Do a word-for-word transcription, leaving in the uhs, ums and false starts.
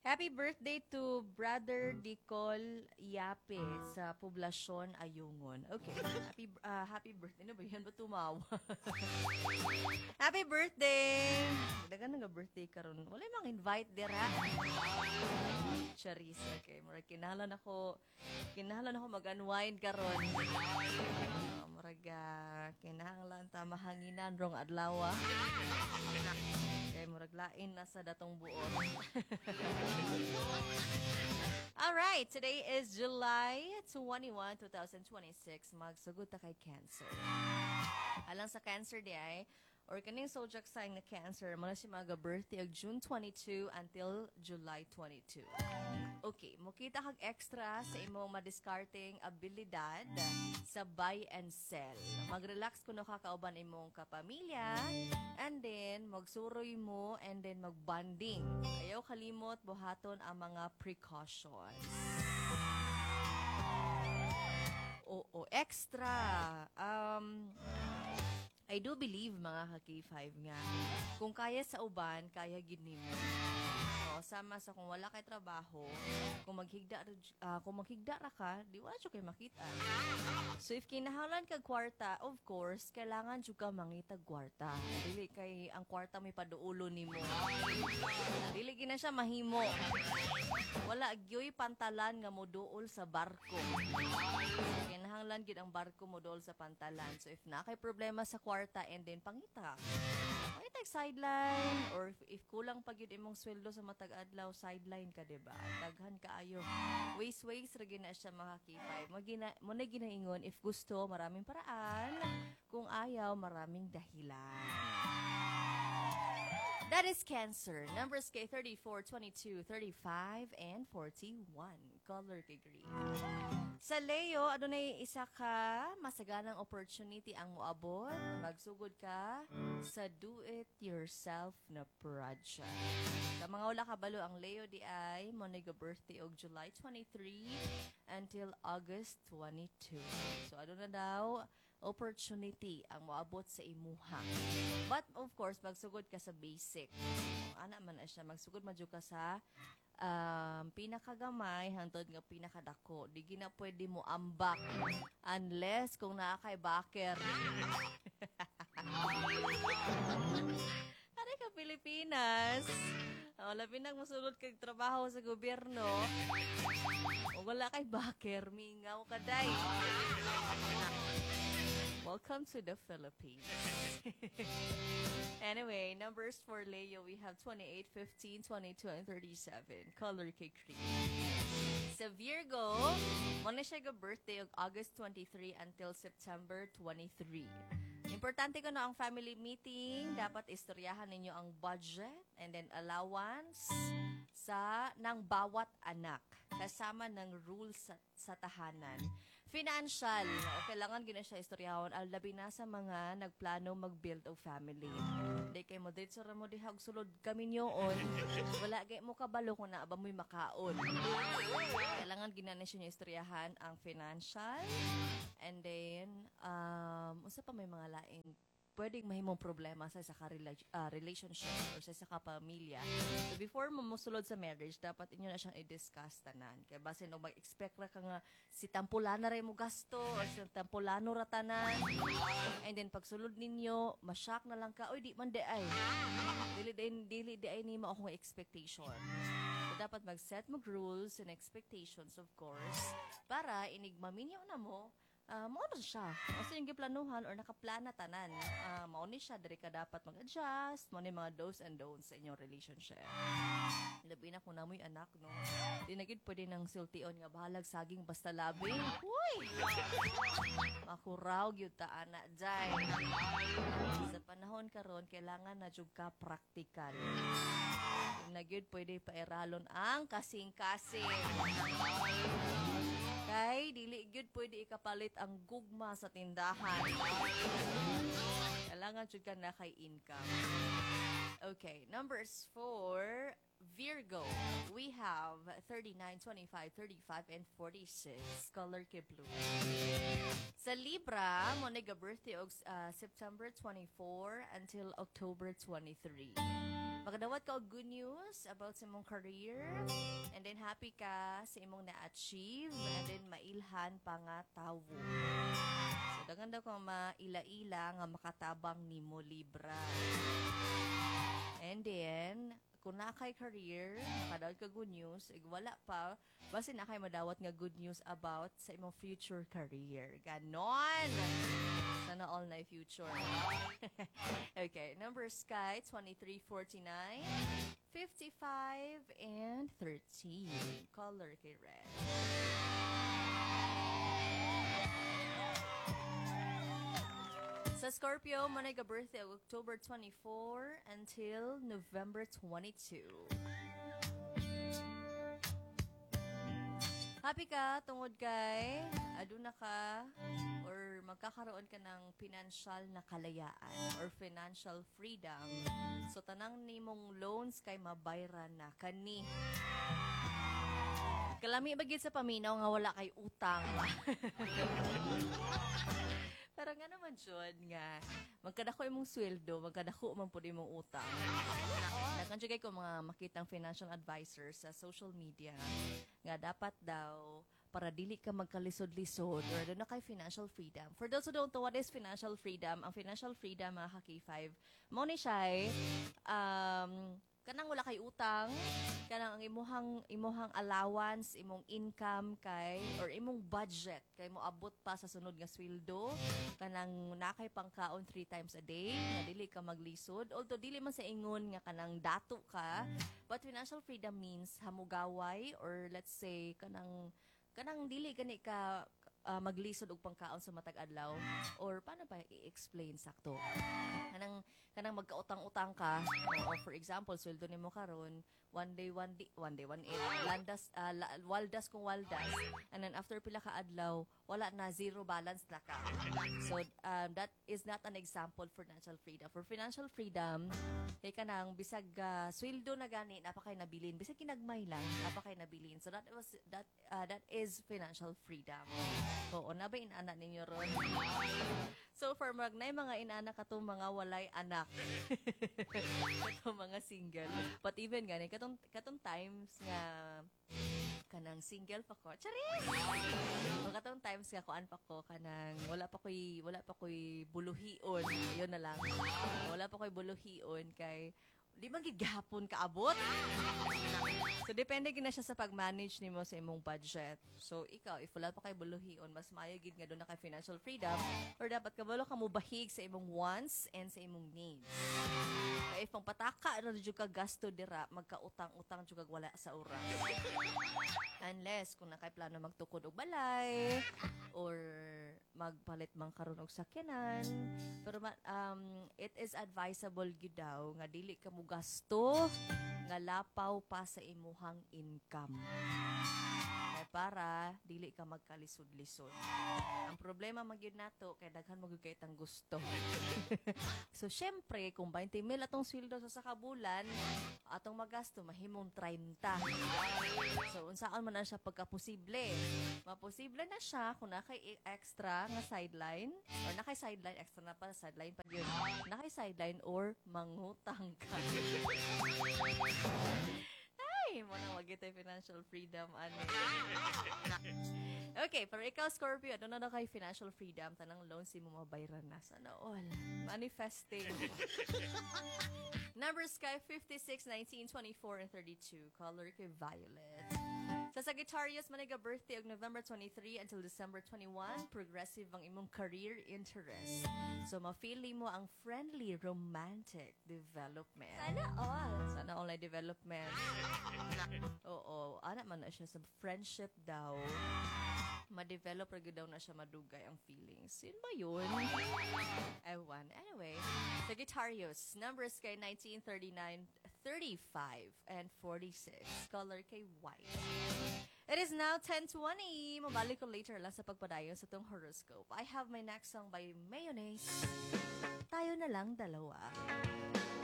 Happy birthday to Brother Dicol Yape sa Poblasyon Ayungon. Okay. Happy ah, happy birthday. Ano ba yan? Ba't tumawa? Happy birthday! Dagan nga birthday karon. Wala mang invite dira. Charis. Okay, murag kinahanglan ako kinahanglan ako mag-unwind karon. Uh, murag ah, kinahanglan ta mahanginan rong adlaw. Kay murag lain na sa datong buot. All right, today is July twenty-one, twenty twenty-six. Magsugod ta kay Cancer. Alang sa Cancer di ay, or kaning zodiac sign na Cancer, mo na siya mga birthday og June twenty-two until July twenty-two. Okay, mokita kag extra sa imong madiskarteng abilidad sa buy and sell. Mag-relax kuno ka kauban imong kapamilya and then magsuroy mo and then magbanding. Ayaw kalimot buhaton ang mga precautions. Oo, extra. Um, I do believe, mga ka-K five, nga kung kaya sa uban, kaya gid nimo. Oo, sama sa kung wala kay trabaho, kung maghigda uh, kung maghigda ra ka, di wala jud kay makita. So if kinahanglan kag kwarta, of course, kailangan jud ka mangitag kwarta. Dili kay ang kwarta may paduulo nimo. Dili gina siya mahimo. Wala gyoy pantalan nga moduol sa barko. Kinahanglan gid ang barko moduol sa pantalan. So if na kay problema sa kwarta and then pangita. Pangita sideline or if, if kulang pa gyud imong sweldo sa matag adlaw, sideline ka, di ba? Daghan kaayo. Ways ways ra gyud na siya, mga K five. Mo gina mo na ginaingon, if gusto, maraming paraan, kung ayaw, maraming dahilan. That is Cancer. Numbers kay thirty-four, twenty-two, thirty-five, and forty-one. Color kay green. Sa Leo, adunay isa ka masaganang opportunity ang moabot. Magsugod ka sa do-it-yourself na project. Sa mga wala kabalo, ang Leo di ay mo birthday og July twenty-three until August twenty-two. So aduna daw opportunity ang moabot sa imuha. But of course, magsugod ka sa basic. Ana man na siya, magsugod man jud ka sa um, pinakagamay hangtod nga pinakadako. Di gina pwede mo ambak unless kung naa kay backer. Ari ka Pilipinas. Oh, labi nang mosulod kag trabaho sa gobyerno. O wala kay backer, mingaw ka day. Welcome to the Philippines. Anyway, numbers for Leo, we have twenty-eight, fifteen, twenty-two, and thirty-seven. Color kay cream. Sa Virgo, mo na siya birthday og August twenty-three until September twenty-three. Importante ko na ang family meeting. Dapat istoryahan ninyo ang budget and then allowance sa ng bawat anak kasama ng rules sa, sa tahanan. Financial, o kailangan gina siya istoryahon al labi na sa mga nagplano mag-build og family. Di kay mo diretso ra mo diha og sulod kaminyoon, wala gay mo kabalo kung naa ba mo'y makaon. Kailangan gina na siya niya istoryahan ang financial and then um unsa pa may mga laing pwedeng mahimong problema sa isa ka rela- ah, relationship or sa isa ka pamilya. So before mo mosulod sa marriage, dapat inyo na siyang i-discuss tanan. Kaya basin og mag-expect ra ka nga si Tampulana ra mo gasto or si Tampulano ra tanan. And then pagsulod ninyo, ma-shock na lang ka, "Oy, di man di ay. Dili din dili di ay nimo akong expectation." So dapat mag-set mo rules and expectations, of course, para inig maminyo na mo, uh, mao na siya. O sa yung giplanuhan or nakaplana tanan. Uh, mao ni siya, diri ka dapat mag-adjust, mao ni mga do's and don'ts sa inyong relationship. Labi na kung namoy anak, no? Di na gid pwede nang sultion nga bahalag saging basta labi. Uy! Makuraw gyud ta ana jay. Sa panahon karon kailangan na jud ka practical. Di na gyud pwede pairalon ang kasing-kasing. Kay dili gyud pwede ikapalit ang gugma sa tindahan. Kailangan jud ka na kay income. Okay, numbers for Virgo. We have thirty-nine, twenty-five, thirty-five, and forty-six. Color kay blue. Sa Libra, mo birthday og uh, September twenty-four until October twenty-three. Makadawat ka og good news about sa imong career and then happy ka sa imong na-achieve and then mailhan pa nga tawo. So daghan daw kang maila-ila nga makatabang nimo Libra. And then, kung naa kay career, makadawat ka good news, ig wala pa, basta naa kay madawat nga good news about sa imong future career. Ganon! Sana all na future. okay, numbers kay twenty-three, forty-nine, fifty-five, and thirteen. Color kay red. Sa Scorpio, mao na birthday og October twenty-four until November twenty-two. Happy ka tungod kay aduna ka or magkakaroon ka ng financial na kalayaan or financial freedom. So tanang nimong loans kay mabayran na kani. Kalami ba gid sa paminaw nga wala kay utang. Pero nga naman jud nga magkadako imong sweldo, magkadako man pud imong utang. Daghan jud kay ko mga makitang financial advisor sa social media nga dapat daw para dili ka magkalisod-lisod or duna kay financial freedom. For those who don't know what is financial freedom, ang financial freedom, mga ka-K five, mao ni siya um, kanang wala kay utang, kanang ang imuhang imuhang allowance, imong income kay or imong budget kay moabot pa sa sunod nga sweldo, kanang naa kay pangkaon three times a day, nga dili ka maglisod. Although dili man sa ingon nga kanang dato ka, but financial freedom means hamugaway or let's say kanang kanang dili gani ka ah, maglisod og pangkaon sa matag adlaw or paano ba i-explain sakto kanang kanang magkautang-utang ka. Oo, for example, sweldo nimo karon one day, one day, one day, one eight landas, ah, la, waldas kung waldas, and then after pila ka adlaw, wala na, zero balance na ka. So um, that is not an example for financial freedom. For financial freedom kay kanang bisag uh, sweldo na gani, naa pa kay nabilin, bisag kinagmay lang, naa pa kay nabilin. So that was that uh, that is financial freedom. Oo, naa ba inana ninyo ron? So for mag nay mga inana katong mga walay anak, katong mga single, but even gani katong katong times nga kanang single pa ko, charis, o katong times nga kuan pa ko, kanang wala pa ko'y wala pa ko'y buluhion, yun na lang, wala pa ko'y buluhion kay di man gid gahapon kaabot. So depende gid na siya sa pag-manage nimo sa imong budget. So ikaw, if wala pa kay buluhion, mas maayo gid nga duna kay financial freedom or dapat kabalo ka mo bahig sa imong wants and sa imong needs. Kay if pangpataka ra jud ka gasto dira, magkautang-utang jud kag wala sa oras. Unless kung naa kay plano magtukod og balay or magpalit man karon og sakyanan. Pero ma- um, it is advisable gyud daw nga dili ka mo gasto nga lapaw pa sa imuhang income. Kay para dili ka magkalisod-lisod. Ang problema man gyud nato kay daghan man gyud kay tang gusto. So syempre kung twenty mil atong sweldo sa sa bulan, atong magasto mahimong thirty. So unsaon man na siya pagkaposible? Maposible na siya kung naa kay extra nga sideline or naa kay sideline, extra na pa sideline pa yun. Naa kay sideline or mangutang ka. Ay, mao na wag tay financial freedom ani. Okay, pero ikaw, Scorpio, ano na na kay financial freedom, tanang loans mo mabayran na. Sana all. Manifesting. Numbers kay fifty-six, nineteen, twenty-four, and thirty-two. Color kay violet. Sa Sagittarius, maniga birthday og November twenty-three until December twenty-one, progressive ang imong career interest. So, ma-feel mo ang friendly romantic development. Sana all. Sana all na development. Oo, ana man na siya sa friendship daw. Ma-develop ra gyud daw na siya madugay ang feelings. Yun ba yun? Ewan. Anyway, Sagittarius, numbers kay nineteen, thirty-nine, thirty-five, and forty-six. Color kay white. It is now ten twenty. Mabalik ko later lang sa pagpadayon sa tong horoscope. I have my next song by Mayonnaise. Tayo Na Lang Dalawa.